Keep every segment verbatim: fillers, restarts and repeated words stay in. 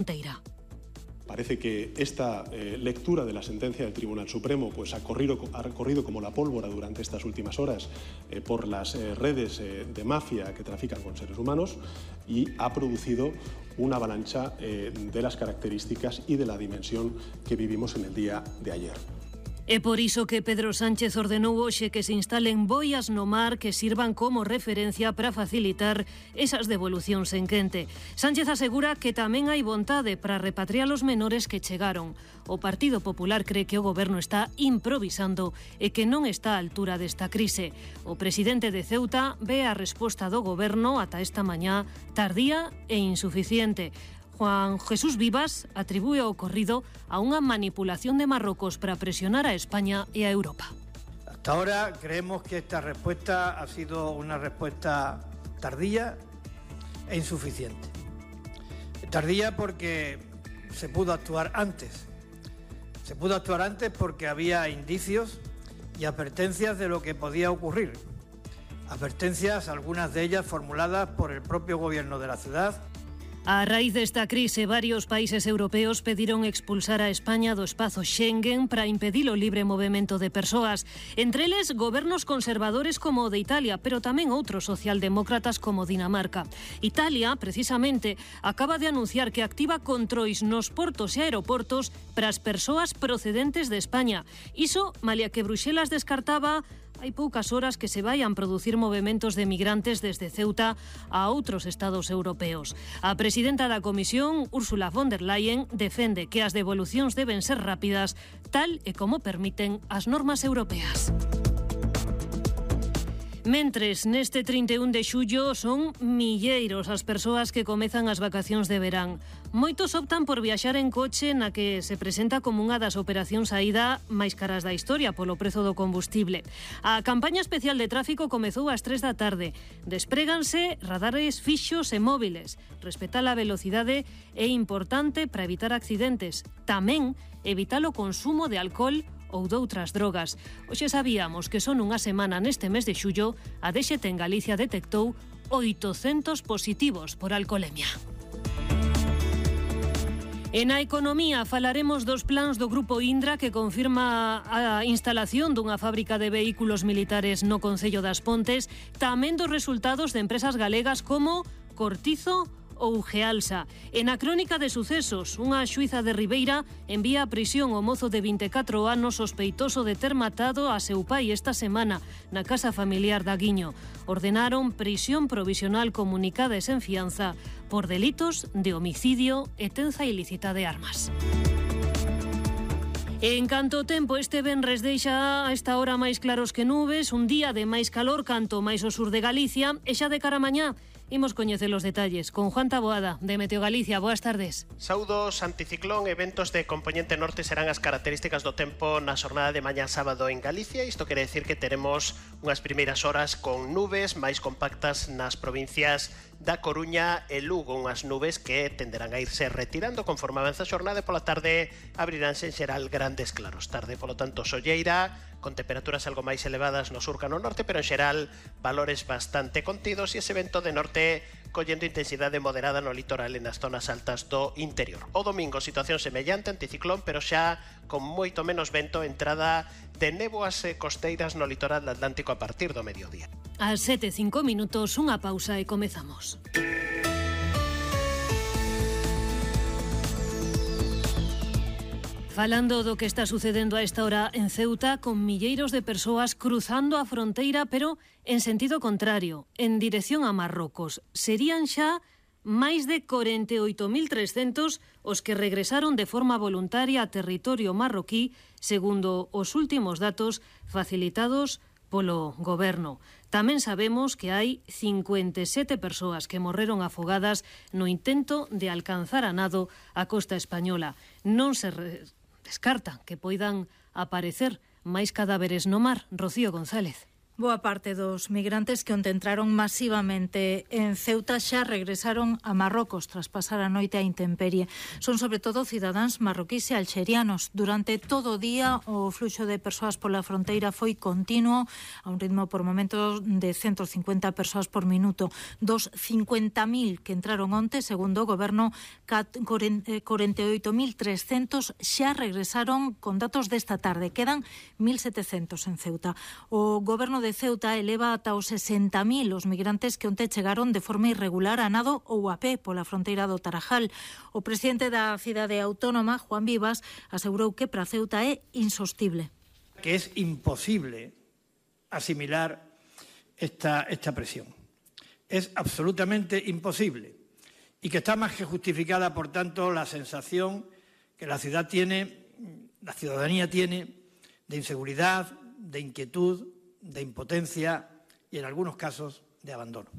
fronteira. Parece que esta eh, lectura de la sentencia del Tribunal Supremo pues, ha, corrido, ha corrido como la pólvora durante estas últimas horas eh, por las eh, redes eh, de mafia que trafican con seres humanos y ha producido una avalancha eh, de las características y de la dimensión que vivimos en el día de ayer. É por iso que Pedro Sánchez ordenou hoxe que se instalen boias no mar que sirvan como referencia para facilitar esas devolucións en quente. Sánchez asegura que tamén hai vontade para repatriar os menores que chegaron. O Partido Popular cree que o goberno está improvisando e que non está á altura desta crise. O presidente de Ceuta ve a resposta do goberno ata esta mañá tardía e insuficiente. Juan Jesús Vivas atribúe o ocorrido a unha manipulación de Marruecos para presionar a España e a Europa. Hasta ahora creemos que esta respuesta ha sido una respuesta tardía e insuficiente. Tardía porque se pudo actuar antes. Se pudo actuar antes porque había indicios y advertencias de lo que podía ocurrir. Advertencias, algunas de ellas formuladas por el propio gobierno de la ciudad. A raíz desta crise, varios países europeos pediron expulsar a España do espazo Schengen para impedir o libre movimento de persoas. Entre eles, gobernos conservadores como o de Italia, pero tamén outros socialdemócratas como Dinamarca. Italia, precisamente, acaba de anunciar que activa controis nos portos e aeroportos para as persoas procedentes de España. Iso, malia que Bruxelas descartaba hai poucas horas que se vayan producir movementos de migrantes desde Ceuta a outros estados europeos. A presidenta da Comisión, Ursula von der Leyen, defende que as devolucións deben ser rápidas, tal e como permiten as normas europeas. Mentres, neste trinta e un de xullo son milleiros as persoas que comezan as vacacións de verán. Moitos optan por viaxar en coche na que se presenta como unha das operacións saída máis caras da historia polo prezo do combustible. A campaña especial de tráfico comezou ás tres da tarde. Despréganse radares fixos e móviles. Respetar a velocidade é importante para evitar accidentes. Tamén evitar o consumo de alcohol ou doutras drogas. Hoxe sabíamos que son unha semana neste mes de xullo a D X T en Galicia detectou oitocentos positivos por alcoholemia. E na economía falaremos dos plans do Grupo Indra que confirma a instalación dunha fábrica de vehículos militares no Concello das Pontes, tamén dos resultados de empresas galegas como Cortizo ou Gealsa. E na crónica de sucesos, unha xuíza de Ribeira envía a prisión o mozo de vinte e catro anos sospeitoso de ter matado a seu pai esta semana na casa familiar da Guiño. Ordenaron prisión provisional comunicada e sen fianza por delitos de homicidio e tenza ilícita de armas. En canto ao tempo, este venres deixa a esta hora máis claros que nubes, un día de máis calor canto máis ao sur de Galicia, e xa de cara a mañá imos coñecer os detalles con Juan Taboada, de Meteo Galicia. Boas tardes. Saúdos, anticiclón e ventos de componente norte serán as características do tempo na xornada de mañá sábado en Galicia. Isto quere decir que teremos unhas primeiras horas con nubes máis compactas nas provincias da Coruña e Lugo, unhas nubes que tenderán a irse retirando conforme avanza a xornada e pola tarde abriránse en xeral grandes claros. Tarde, polo tanto, solleira, con temperaturas algo máis elevadas no sur ca no norte, pero en xeral valores bastante contidos e ese vento de norte collendo intensidade moderada no litoral e nas zonas altas do interior. O domingo, situación semellante, anticiclón, pero xa con moito menos vento, entrada de néboas costeiras no litoral atlántico a partir do mediodía. Ás sete e cinco minutos, unha pausa e comezamos. Falando do que está sucedendo a esta hora en Ceuta, con milleiros de persoas cruzando a fronteira, pero en sentido contrario, en dirección a Marrocos. Serían xa máis de corenta e oito mil trescentos os que regresaron de forma voluntaria a territorio marroquí, segundo os últimos datos facilitados polo goberno. Tamén sabemos que hai cincuenta e sete persoas que morreron afogadas no intento de alcanzar a nado a costa española. Non se re... descarta que poidan aparecer máis cadáveres no mar. Rocío González. Boa parte dos migrantes que onte entraron masivamente en Ceuta xa regresaron a Marrocos tras pasar a noite a intemperie. Son sobre todo cidadáns marroquís e alxerianos. Durante todo o día o fluxo de persoas pola fronteira foi continuo, a un ritmo por momentos de ciento cincuenta persoas por minuto. Dos cincuenta mil que entraron onte, segundo o goberno, corenta e oito mil trescentos xa regresaron con datos desta tarde. Quedan mil setecentos en Ceuta. O goberno de Ceuta eleva ata os sesenta mil os migrantes que onte chegaron de forma irregular a nado ou a pé pola fronteira do Tarajal. O presidente da cidade autónoma, Juan Vivas, asegurou que para Ceuta é insostible. Que es imposible asimilar esta, esta presión. Es absolutamente imposible y que está más que justificada, por tanto, la sensación que la ciudad tiene, la ciudadanía tiene de inseguridad, de inquietud, de impotencia y, en algunos casos, de abandono.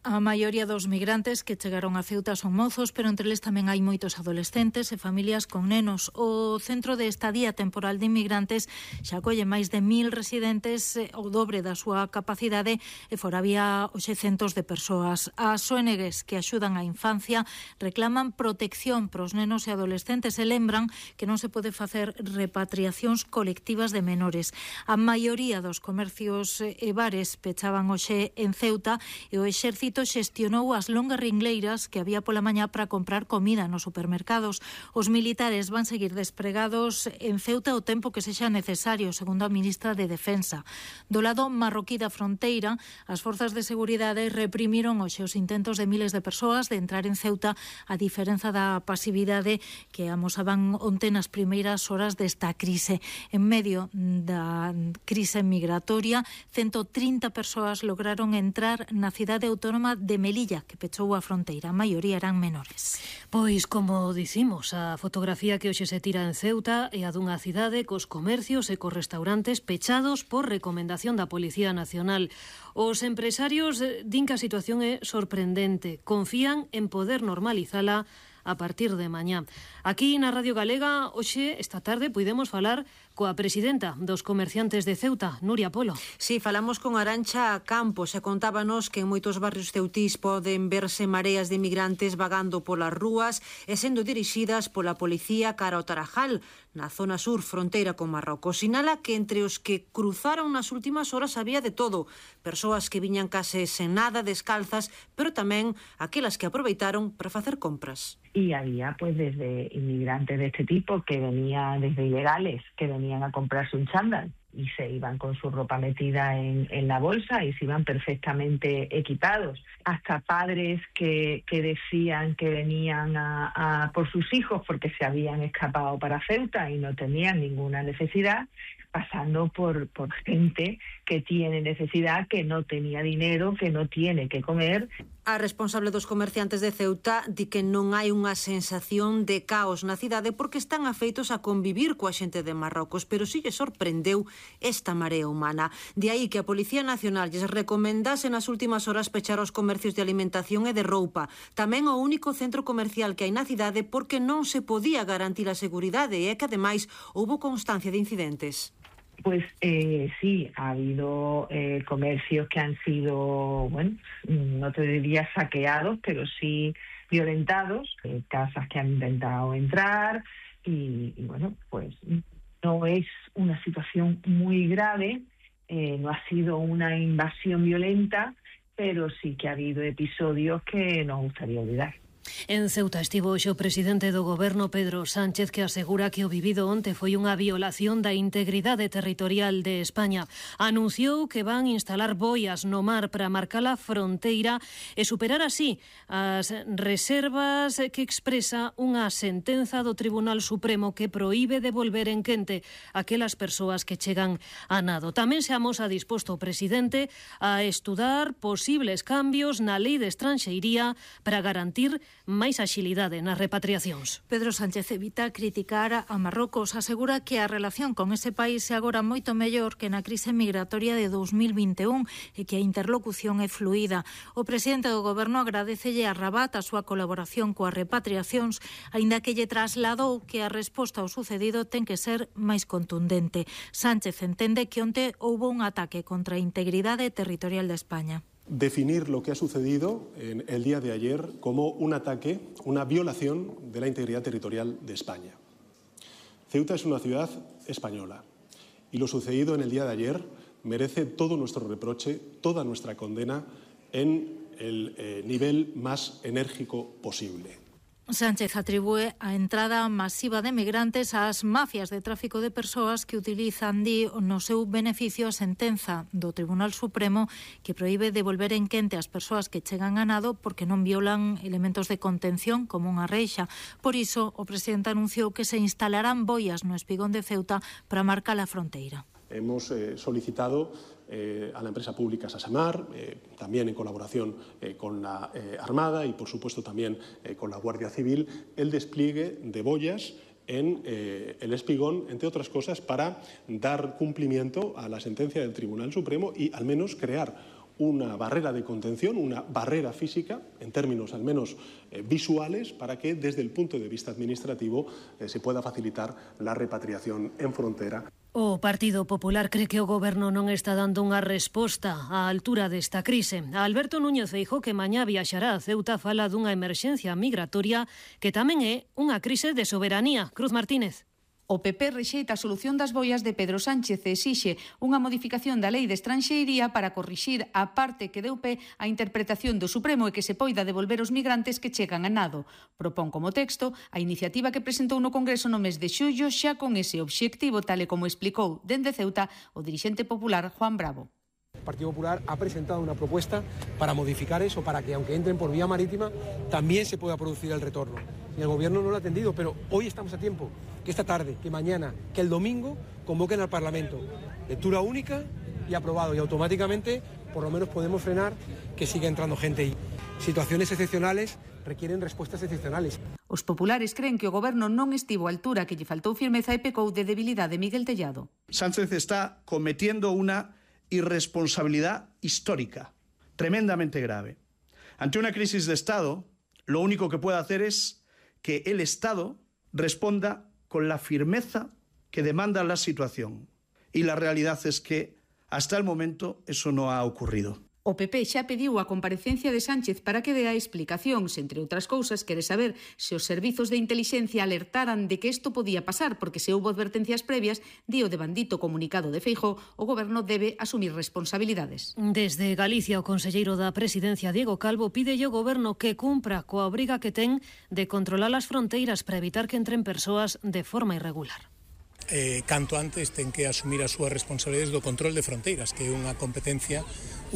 A maioría dos migrantes que chegaron a Ceuta son mozos, pero entre eles tamén hai moitos adolescentes e familias con nenos. O Centro de Estadía Temporal de Inmigrantes xa acolle máis de mil residentes, o dobre da súa capacidade, e fora había hoxe centos de persoas. As O N Gs que axudan a infancia reclaman protección para os nenos e adolescentes e lembran que non se pode facer repatriacións colectivas de menores. A maioría dos comercios e bares pechaban hoxe en Ceuta e o exército xestionou as longas ringleiras que había pola mañá para comprar comida nos supermercados. Os militares van seguir despregados en Ceuta o tempo que sexa necesario, segundo a ministra de Defensa. Do lado marroquí da fronteira, as forzas de seguridade reprimiron hoxe os intentos de miles de persoas de entrar en Ceuta, a diferenza da pasividade que amosaban onte nas primeiras horas desta crise. En medio da crise migratoria, ciento trinta persoas lograron entrar na cidade autónoma de Melilla, que pechou a fronteira. A maioría eran menores. Pois, como dicimos, a fotografía que hoxe se tira en Ceuta é a dunha cidade cos comercios e cos restaurantes pechados por recomendación da Policía Nacional. Os empresarios din que a situación é sorprendente. Confían en poder normalizala a partir de mañá. Aquí na Radio Galega, hoxe, esta tarde, puidemos falar coa presidenta dos comerciantes de Ceuta, Nuria Polo. Sí, falamos con Arantxa Campos e contábanos que en moitos barrios ceutís poden verse mareas de migrantes vagando polas rúas e sendo dirixidas pola policía cara ao Tarajal, na zona sur, fronteira con Marrocos. Sinala que entre os que cruzaron nas últimas horas había de todo. Persoas que viñan case sen nada, descalzas, pero tamén aquelas que aproveitaron para facer compras. Y había pues desde inmigrantes de este tipo que venían desde ilegales, que venían a comprarse un chándal y se iban con su ropa metida en, en la bolsa y se iban perfectamente equipados. Hasta padres que, que decían que venían a, a por sus hijos porque se habían escapado para Ceuta y no tenían ninguna necesidad, pasando por, por gente que tiene necesidad, que no tenía dinero, que no tiene que comer. A responsable dos comerciantes de Ceuta di que non hai unha sensación de caos na cidade porque están afeitos a convivir coa xente de Marrocos, pero si lle sorprendeu esta marea humana. De aí que a Policía Nacional lles recomendase nas últimas horas pechar os comercios de alimentación e de roupa. Tamén o único centro comercial que hai na cidade porque non se podía garantir a seguridade e é que ademais houbo constancia de incidentes. Pues eh, sí, ha habido eh, comercios que han sido, bueno, no te diría saqueados, pero sí violentados, eh, casas que han intentado entrar y, y bueno, pues no es una situación muy grave, eh, no ha sido una invasión violenta, pero sí que ha habido episodios que nos gustaría olvidar. En Ceuta estivo hoxe o presidente do goberno Pedro Sánchez, que asegura que o vivido onte foi unha violación da integridade territorial de España. Anunciou que van instalar boias no mar para marcar a fronteira e superar así as reservas que expresa unha sentenza do Tribunal Supremo que proíbe devolver en quente aquelas persoas que chegan a nado. Tamén se amosa disposto o presidente a estudar posibles cambios na lei de estranxeiría para garantir máis axilidade nas repatriacións. Pedro Sánchez evita criticar a Marrocos, asegura que a relación con ese país é agora moito mellor que na crise migratoria de dous mil vinte e un e que a interlocución é fluida. O presidente do Goberno agradecelle a Rabat a súa colaboración coas repatriacións, aínda que lle trasladou que a resposta ao sucedido ten que ser máis contundente. Sánchez entende que onte houbo un ataque contra a integridade territorial de España. Definir lo que ha sucedido en el día de ayer como un ataque, una violación de la integridad territorial de España. Ceuta es una ciudad española y lo sucedido en el día de ayer merece todo nuestro reproche, toda nuestra condena en el eh, nivel más enérgico posible. Sánchez atribúe a entrada masiva de migrantes ás mafias de tráfico de persoas que utilizan, di, no seu beneficio a sentenza do Tribunal Supremo que proíbe devolver en quente as persoas que chegan a nado porque non violan elementos de contención como unha reixa. Por iso, o presidente anunciou que se instalarán boias no espigón de Ceuta para marcar a fronteira. Hemos eh, solicitado eh, a la empresa pública Sasamar, eh, también en colaboración eh, con la eh, Armada y, por supuesto, también eh, con la Guardia Civil, el despliegue de boyas en eh, el espigón, entre otras cosas, para dar cumplimiento a la sentencia del Tribunal Supremo y, al menos, crear una barrera de contención, una barrera física, en términos al menos eh, visuales, para que desde el punto de vista administrativo eh, se pueda facilitar la repatriación en frontera. O Partido Popular cree que o Goberno non está dando unha resposta á altura desta crise. A Alberto Núñez Feijóo, que mañá viaxará a Ceuta, fala dunha emerxencia migratoria que tamén é unha crise de soberanía. Cruz Martínez. O P P rexeita a solución das boias de Pedro Sánchez e exixe unha modificación da Lei de Estranxeiría para corrixir a parte que deu pé á interpretación do Supremo e que se poida devolver os migrantes que chegan a nado. Propón como texto a iniciativa que presentou no Congreso no mes de xullo xa con ese obxectivo, tal e como explicou dende Ceuta o dirixente popular Juan Bravo. El Partido Popular ha presentado una propuesta para modificar eso, para que aunque entren por vía marítima, también se pueda producir el retorno. Y el Gobierno no lo ha atendido, pero hoy estamos a tiempo, que esta tarde, que mañana, que el domingo convoquen al Parlamento. Lectura única y aprobado. Y automáticamente, por lo menos podemos frenar que siga entrando gente. Y situaciones excepcionales requieren respuestas excepcionales. Os populares creen que o Goberno non estivo á altura, que lle faltou firmeza e pecou de debilidade Miguel Tellado. Sánchez está cometiendo una irresponsabilidad histórica, tremendamente grave. Ante una crisis de Estado, lo único que puede hacer es que el Estado responda con la firmeza que demanda la situación. Y la realidad es que, hasta el momento, eso no ha ocurrido. O P P xa pediu a comparecencia de Sánchez para que dea explicacións. Entre outras cousas, quere saber se os servizos de intelixencia alertaran de que isto podía pasar, porque se houbo advertencias previas, di o devandito comunicado de Feijóo, o Goberno debe asumir responsabilidades. Desde Galicia, o conselleiro da Presidencia, Diego Calvo, pide ao Goberno que cumpra coa obriga que ten de controlar as fronteiras para evitar que entren persoas de forma irregular. Eh, canto antes ten que asumir as súas responsabilidades do control de fronteiras, que é unha competencia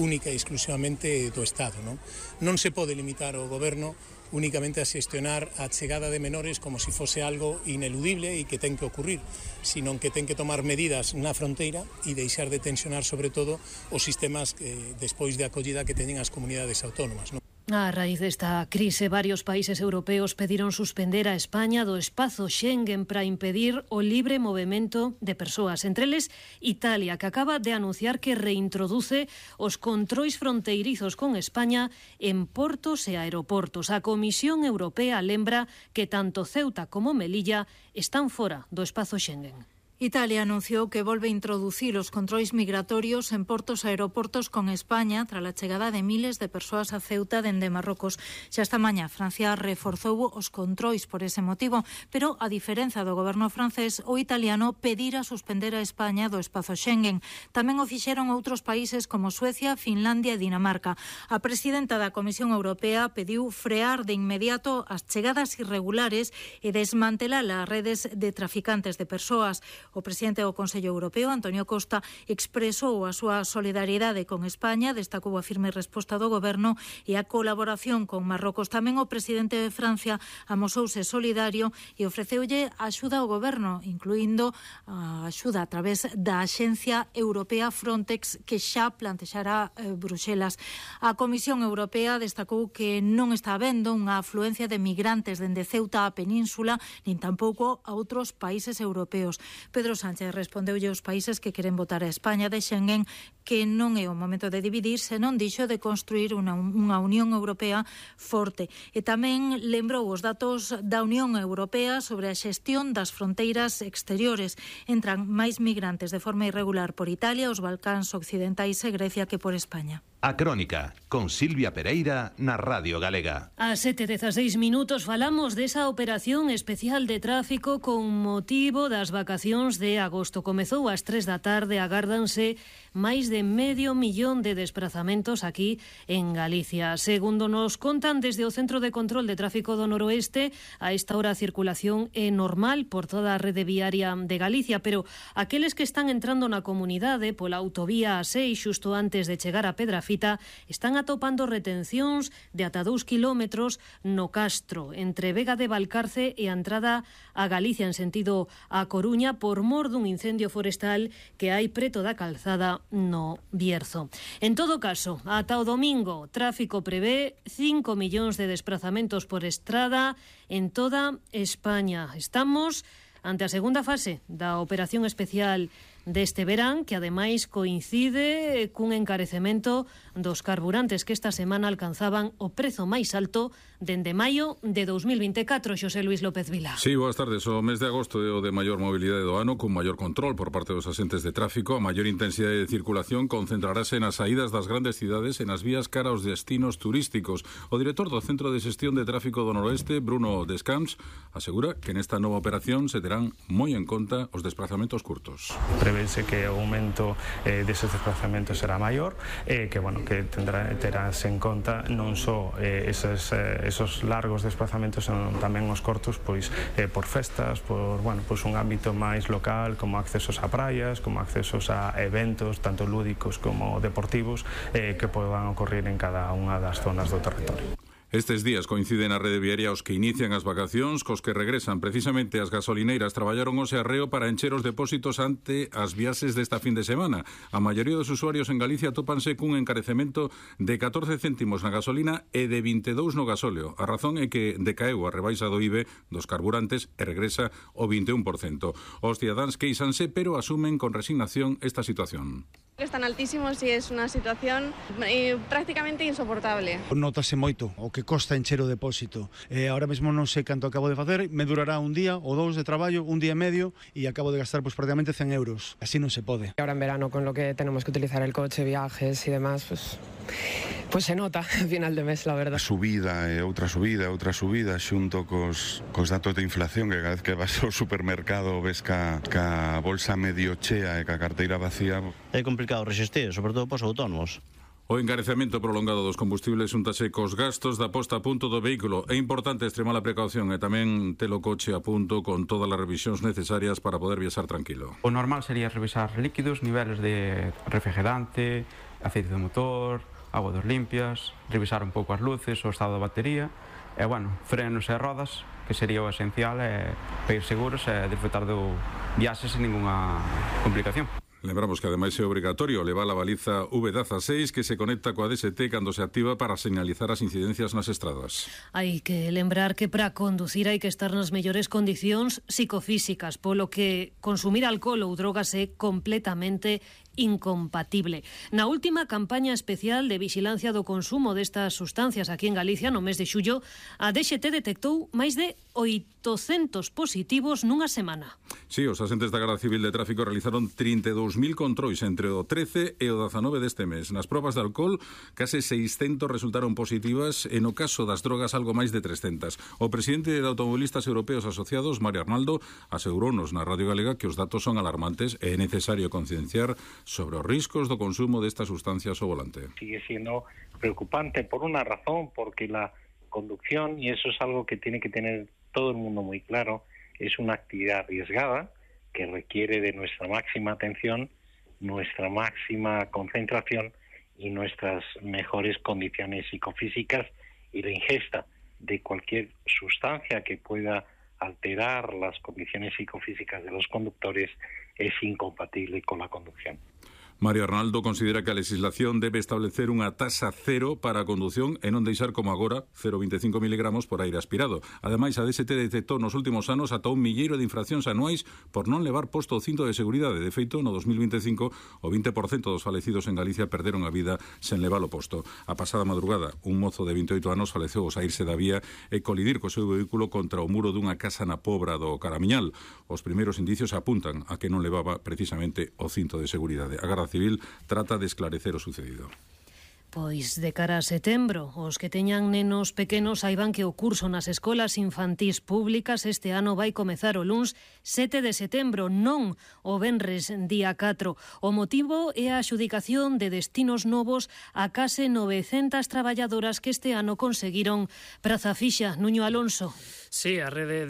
única e exclusivamente do Estado. Non, non se pode limitar o Goberno únicamente a xestionar a chegada de menores como se fose algo ineludible e que ten que ocurrir, sino que ten que tomar medidas na fronteira e deixar de tensionar sobre todo os sistemas que, despois de acollida que teñen as comunidades autónomas. Non? A raíz desta crise, varios países europeos pediron suspender a España do espazo Schengen para impedir o libre movimento de persoas. Entre eles, Italia, que acaba de anunciar que reintroduce os controis fronteirizos con España en portos e aeroportos. A Comisión Europea lembra que tanto Ceuta como Melilla están fora do espazo Schengen. Italia anunciou que volve a introducir os controis migratorios en portos e aeroportos con España tras a chegada de miles de persoas a Ceuta dende Marrocos. Xa esta mañá Francia reforzou os controis por ese motivo, pero a diferenza do goberno francés, o italiano pedira suspender a España do espazo Schengen. Tamén o fixeron outros países como Suecia, Finlandia e Dinamarca. A presidenta da Comisión Europea pediu frear de inmediato as chegadas irregulares e desmantelar as redes de traficantes de persoas. O presidente do Consello Europeo, Antonio Costa, expresou a súa solidariedade con España, destacou a firme resposta do goberno e a colaboración con Marrocos. Tamén o presidente de Francia amosouse solidario e ofreceulle axuda ao goberno, incluindo a axuda a través da Axencia Europea Frontex, que xa plantexará eh, Bruxelas. A Comisión Europea destacou que non está habendo unha afluencia de migrantes dende Ceuta á península, nin tampouco a outros países europeos. Pedro Sánchez respondeulle aos países que queren votar a España de Schengen que non é o momento de dividir, senón dixo de construir unha, unha Unión Europea forte. E tamén lembrou os datos da Unión Europea sobre a xestión das fronteiras exteriores. Entran máis migrantes de forma irregular por Italia, os Balcáns occidentais e Grecia que por España. A Crónica, con Silvia Pereira na Radio Galega. A sete e dezaseis minutos falamos desa operación especial de tráfico con motivo das vacacións de agosto. Comezou ás tres da tarde, agárdanse máis de medio millón de desplazamentos aquí en Galicia. Segundo nos contan desde o Centro de Control de Tráfico do Noroeste, a esta hora a circulación é normal por toda a rede viaria de Galicia, pero aqueles que están entrando na comunidade pola autovía A seis xusto antes de chegar a Pedrafita están atopando retencións de ata dous kilómetros no Castro, entre Vega de Valcarce e a entrada a Galicia en sentido a Coruña por mor dun incendio forestal que hai preto da calzada no Bierzo. En todo caso, ata o domingo, tráfico prevé cinco millóns de desplazamentos por estrada en toda España. Estamos ante a segunda fase da operación especial deste verán, que ademais coincide cun encarecemento dos carburantes que esta semana alcanzaban o prezo máis alto dende maio de dous mil vinte e catro. Xosé Luis López Vila. Sí, boas tardes. O mes de agosto é o de maior mobilidade do ano, con maior control por parte dos asentes de tráfico. A maior intensidade de circulación concentrarase nas saídas das grandes cidades e nas vías cara aos destinos turísticos. O director do Centro de Xestión de Tráfico do Noroeste, Bruno Descamps, asegura que nesta nova operación se terán moi en conta os desplazamentos curtos. Prevese que o aumento eh, deses desplazamentos será maior e eh, que, bueno, que tendrá, terás en conta non só eh, esos, eh, esos largos desplazamentos, senón tamén os cortos, pois eh, por festas, por, bueno, pois un ámbito máis local, como accesos a praias, como accesos a eventos, tanto lúdicos como deportivos, eh, que podan ocorrer en cada unha das zonas do territorio. Estes días coinciden a rede viaria os que inician as vacacións cos que regresan. Precisamente as gasolineiras traballaron hoxe arreo para encher os depósitos ante as viaxes desta fin de semana. A maioría dos usuarios en Galicia tópanse cun encarecemento de catorce céntimos na gasolina e de vinte e dous no gasóleo. A razón é que decaeu a rebaixa do I V E dos carburantes e regresa o vinte e un por cento. Os cidadáns queixanse, pero asumen con resignación esta situación. Están altísimos e é unha situación eh, prácticamente insoportable. Notase moito o que costa encher o depósito. Eh, ahora mesmo non sei canto acabo de facer, me durará un día ou dous de traballo, un día e medio, e acabo de gastar pues, prácticamente cen euros. Así non se pode. Ahora en verano, con lo que tenemos que utilizar el coche, viajes y demás, pues, pues se nota al final de mes, la verdad. A subida e outra subida, outra subida, xunto cos, cos datos de inflación, que cada vez que vas ao supermercado ves ca, ca bolsa medio chea e ca carteira vacía. É complicado resistir, sobre todo pos autónomos. O encarecemento prolongado dos combustibles xuntase cos gastos da posta a punto do vehículo. É importante extremar a precaución e tamén ter o coche a punto con todas as revisións necesarias para poder viaxar tranquilo. O normal sería revisar líquidos, niveles de refrigerante, aceite de motor, agua dos limpias, revisar un pouco as luces, o estado da batería e, bueno, frenos e rodas, que sería o esencial, e para ir seguros e disfrutar do viaxe sen ninguna complicación. Lembramos que ademais é obrigatorio levar a baliza V dieciséis que se conecta coa D S T cando se activa para señalizar as incidencias nas estradas. Hai que lembrar que para conducir hai que estar nas mellores condicións psicofísicas, polo que consumir alcohol ou drogas é completamente incompatible. Na última campaña especial de vixilancia do consumo destas sustancias aquí en Galicia, no mes de xullo, a D X T detectou máis de oitocentos positivos nunha semana. Sí, os asentes da Garda Civil de Tráfico realizaron trinta e dous mil controis entre o trece e o dezanove deste mes. Nas probas de alcohol, case seiscentos resultaron positivas e no caso das drogas algo máis de trescentas. O presidente de Automovilistas Europeos Asociados, Mario Arnaldo, asegurounos na Radio Galega que os datos son alarmantes e é necesario concienciar sobre os riscos do consumo destas sustancias ao volante. Sigue siendo preocupante por una razón, porque la conducción, y eso es algo que tiene que tener todo el mundo muy claro, es una actividad arriesgada que requiere de nuestra máxima atención, nuestra máxima concentración y nuestras mejores condiciones psicofísicas, y la ingesta de cualquier sustancia que pueda alterar las condiciones psicofísicas de los conductores es incompatible con la conducción. Mario Arnaldo considera que a legislación debe establecer unha taxa cero para a condución e non deixar como agora cero veinticinco miligramos por aire aspirado. Ademais, a D S T detectou nos últimos anos ata un milleiro de infraccións anuais por non levar posto o cinto de seguridade. De feito, no dos mil veinticinco, o vinte por cento dos falecidos en Galicia perderon a vida sen levar o posto. A pasada madrugada, un mozo de vinte e oito anos faleceu ao saírse da vía e colidir co seu vehículo contra o muro dunha casa na Pobra do Caramiñal. Os primeiros indicios apuntan a que non levaba precisamente o cinto de seguridade. A Garda Civil trata de esclarecer o sucedido. Pois de cara a setembro, os que teñan nenos pequenos saiban que o curso nas escolas infantís públicas este ano vai comezar o luns sete de setembro, non o venres día catro. O motivo é a adxudicación de destinos novos a case novecentas traballadoras que este ano conseguiron praza fixa. Nuño Alonso. Sí, a rede